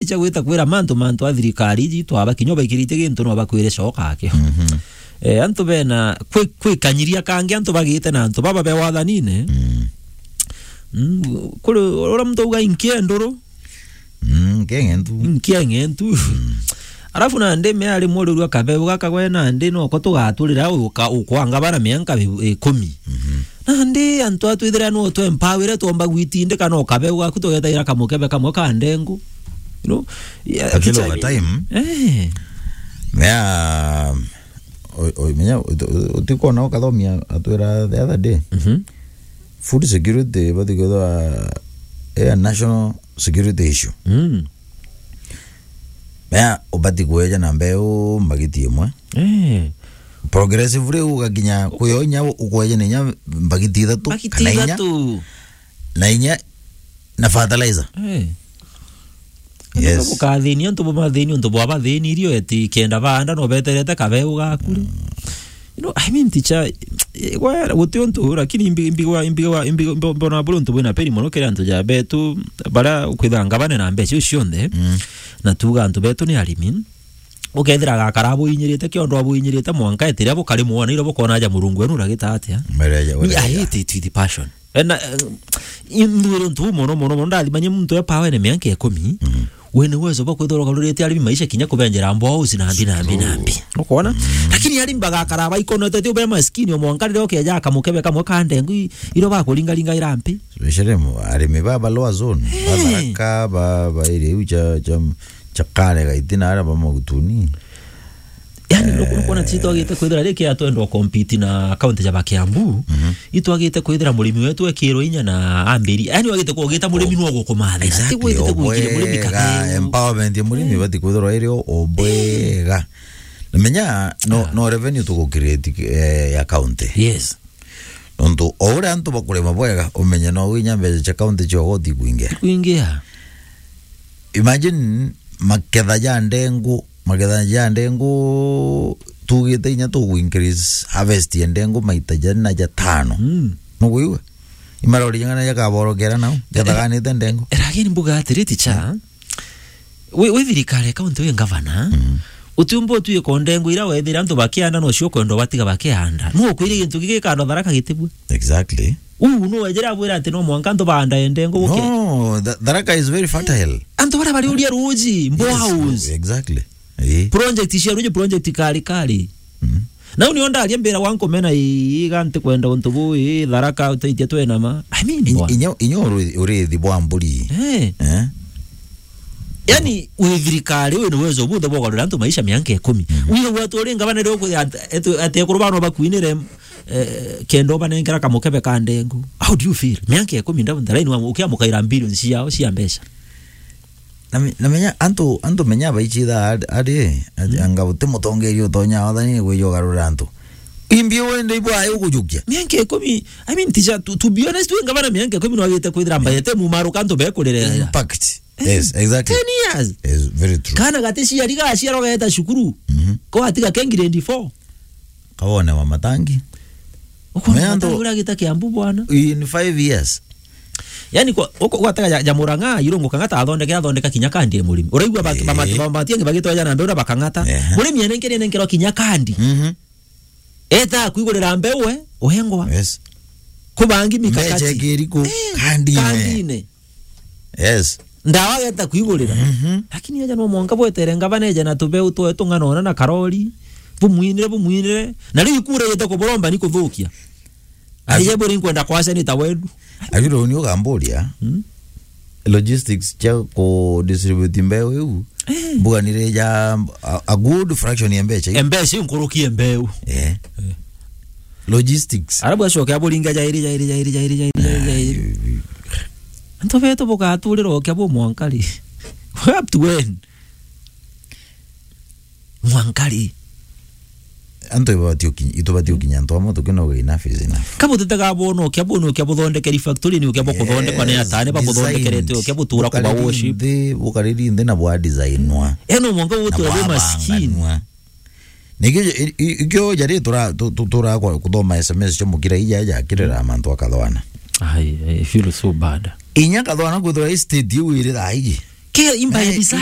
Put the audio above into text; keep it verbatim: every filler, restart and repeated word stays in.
Icha gwita kwira mantu, mantu a thirikari iji twaba kinya ubaikirite gintu no bakwire coka akio. Mhm. Eh, antu bena kwi-, kwikanyiria kangi antu bagite na antu baba be wathanine. Mm. Mm, kuri ura muntu auga inkie nduru. Mm, kenge ntu. Inkie nge ntu. Mm. Alafu nandi me ari muriru akabeu gaka gwe nandi noko tugaturira uka-, ukwanga bara mianka bi-, ikumi. Mhm. Nandi antu atwithira no twe empower twomba gwitindika no kabeu gaku tugetaira kamukebe kamwe ka ndengu. You know? Yeah, Akilo kicha- over time. Eh. Mea, o-, o-, menya, uti-, uti-, utikona ukathomia atwira the other day. Mhm. Food security, bati kwithwa, eh, national security issue. Mm. Mea, ubati kweja na mbeu mbagiti imwe. Eh. Progressively ugakinya kuyo inya ukweja na inya mbagiti ithatu Mbagiti kana inya. ithatu. Na inya na fertilizer. Eh. Yes. Antu bukathini, antu bumathini, antu bwabathini irio eti kenda baanda no beterete kabeu gaku ri. Mm. You know, I mean, teacher, eh, gwa-, guti untu, lakini imbi-, imbi-, imbi-, imbi-, imbi-, mbo-, mbona buri untu bwina peni mono kiri antu ja betu, bara kwithanga bane na mbeca icio cionthe, Mm. na tuga antu betu ni arimi. Ukethira gakara buinyirite, kiondo abuinyirite, mwanka etiria bukari mwana, ira bukona aja Murungu wenu uragita atia? Mereja, Me, I mereja. hate it with passion. Eh, na, eh, inthuire untu buu mono, mono, mono, ndathimanye muntu e power ene mianka ikumi, Mhm. wene uwezo bwa kwithirwa ugarurite arimi maisha kinya kubenjera mboa uci na mbi, na mbi, na mbi. Ukwona? Mhm. Lakini arimi bagakara baikonete ti ube maskini, o mwanka riria ukeja akamukebe kamwe ka ndengu i-, irio bakuringaringa irampi. Specially mu-, arimi ba, ba lower zone, ba Eh. Tharaka, ba, ba area iu cha, cha, cha Kare Gaiti na aria ba Magutuni. Yani, nuku-, nukwona ti twagite kwithira riki atwendwa compete na county ja ba Kiambu, Mhm. itwagite kwithira murimi wetu ekirwe inya na ambiri. Yani, wagite kugita murimi no gukumathira. Exactly, Ti gwitite gwikire murimi obwega, kabeu. Empowerment ya murimi Eh. ibati kwithirwa iri o, obwega. Menya, no, Ah. no revenue tugu create, eh, ya county. Yes. Nontu o uria antu bakurima bwega, umenye no inya mbeca cia county cio goti kwingia. Kwingia. Imagine maketha ja ndengu, maketha ja ndengu tugite inya tugu increase harvest ya ndengu maita jana ja tano. Mm. Nukwigua? Imarori jang'ana jakaborokera nao, jathaganite ndengu. Lakini mbuga atiri, teacher, wi, wi thirikari ya county, wi ngavana, Mm. utiumba utwika ndengu ira wethira antu bakianda no cio kwenda batiga bakianda. No ukwire gintu gigikandwa Tharaka gitibua. Exactly. Uu no wejere abwira ati no mwanka antu baanda ndengu guke. No, Tha-, Tharaka is very fertile. Antu baria bariuria ruji, Yes, boreholes. Exactly. Eh. Project cia ruji, project kari kari. Mm. Nau nio ndaria mbira wa nkumena ii, iga ntikwenda untu buu, ii, Tharaka utaitia twena ma. I mean, Inya, bwana. inya, inya uri, urithi bwa mburi. Eh. Eh? Yani, wi thirikari, wina uwezo bunthe bwa kugarura antu maisha mianka ikumi. Mhm. Wira gwatu uri ngavana rio kuthi at-, etu-, ati ekuru bano bakwinire, eh, kenda ubanenkera kamukebe ka ndengu. How do you feel? Mianka ikumi ndau, ndaraini wa, ukiamukaira billions ciao cia mbeca. Na me-, na menya antu, antu menya baichitha ari, ari, Mm. anga uti mutongeria utonya wathani kwija ugarura antu. Imbi wende ibwa ayo kujukia. Mianka ikumi, I mean, teacher, to, to be honest, we ngavana mianka ikumi no agite kwithira mbayete mumaruka antu bekurerera. Impact. Eh, Yes, exactly. ten years. Yes, very true. Kana gati ciari gaciarwa geta cukuru. Mhm. Ko atiga ke grade four. Kawone wa matangi. Ukwona Mea matangi ndo- uria agita Kiambu bwana. In five years. Yani kwa, uko, gwataga ja, ja Murang'a, irungu kang'ata athondeke, athondeka kinya kandi ya murimi. Uraigua ba, Eh. ba, ba, ba, matiangi bagitwa jana mbeu na bakang'ata. Ehe. Murimi anenkere, nenkerwa kinya kandi. Mhm. Eta kwigurira mbeu we, uhengwa. Yes. Kubangi mikakati. Mbecha ikiriku, Eh, kandi ine. kandi ine. Yes. Ndawa geta kwigurira. Mhm. Lakini aja no mwanka bwetere ngavana eje na tubeu twetu ng'ana ona na karori. Bumwinire, bumwinire. Na riu ikura igite kuburomba ni kuthukia. Aje buri nkwenda kwaca ni ta wendu. Agiro ni ugamburia. Mm. Logistics cia ku distribute mbeu iu. Eh. Mbuganire ja a, a good fraction ya mbecha iu. Mbecha iu nkuruki ya mbeu. Eh. Eh. Logistics. Arabu acoke aburinga jairi, jairi, jairi, jairi, jairi, jairi, jairi. Antu betu bugaturira ukia bu mwanka ri? Up to when? Mwanka ri? Antu ibati ukinya, itubati ukinya antu amwe tukinoga enough is enough. Kabu tutega bono ukia bu, ukia buthondekeri factory ni ukia bukuthondekwa ni Yes, atane babuthondekerete designed. Ukia butura kuba Bukariri worship. Nthi, bukariri nthi na bwa designwa. Eno mwanka Na utura bwa maskini. banganwa. Nikio, i-, i-, ikio jari tura, tu-, tu-, tura kwa kuthoma S M S cia mukira ija ja kirira mantu akathwana. Ai, I feel so bad. Inya kathwana kwithirwa i state iu iri thaa iji. Ke imba ya design.